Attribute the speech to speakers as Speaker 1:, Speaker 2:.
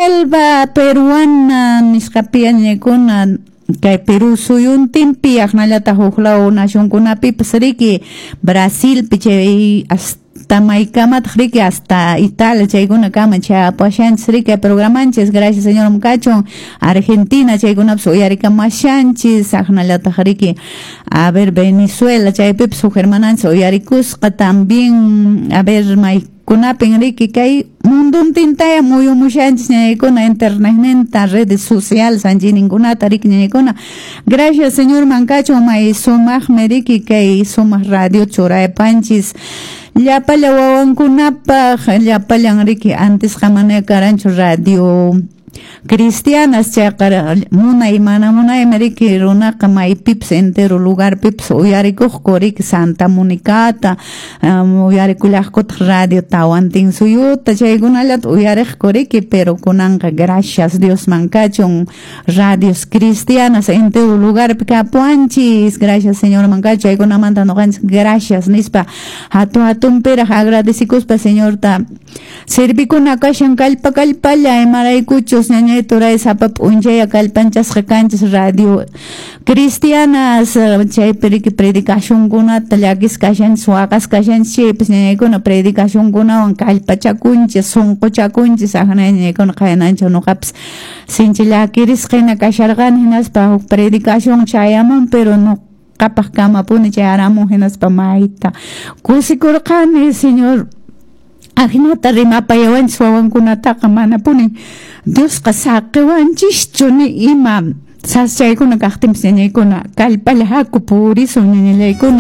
Speaker 1: Selva Peruana nisqapi ñañaykuna kay Perú suyuntinpi aqnallataq huk law nacionkunapipas riki Brasilpi chay hasta maykamataq riki hasta Italia chaykunakama chayapashanchis riki programanchis. Gracias Señor kachun. Argentina chaykunapas uyarikamashanchis aqnallataq riki a ver Venezuela chaypipas huk hermananchis uyarikusqa también a ver maykunapin riki kay munduntintaya muyumushanchis ñañaykuna internetninta redes sociales anchininkunata riki ñañaykuna. Gracias Señor kachun may sumaqmi riki kay sumaq radio churaypanchis llapalla wawankunapaq llapallan riki antes mana karanchu radio cristianas chayqa munay mana munaymi riki runaqa maypipas entero lugarpipas uyarikuqku riki Santa Monicata uyarikullaqkutaq radio Tawantinsuyuta chaykunallata uyariqku riki pero kunanqa gracias Diosman kachun radios cristianas entero lugarpi kapuanchis. Gracias Señorman kachun chaykunamanta ñuqanchis gracias nispa hatun hatunpiraq agradecikuspa Señorta servikuna kashan kallpa kallpalla imaraykuchus ñañay turay sapa p'unchaya kallpanchasqa kanchis radio cristianas chaypi riki predicacionkunata llakisqa kashanchis waqasqa kashanchis chaypis ñañaykuna predicacionkunawan kallpachakunchis sunquchakunchis aqna ñañaykuna qayananchik ñuqapas sinchi llakirisqa hina kasharqani hinaspa huk predicación chayamun pero ñuqapaq kamapuni chayaramun hinaspa mayta kusikurqani Señor ajinata rimapayawanchis wawankunataqa manapuni Diosqa saqiwanchischu ni ima sasachaykuna kaqtinpis ñañaykuna kallpalla haku purisun ñañallaykuna.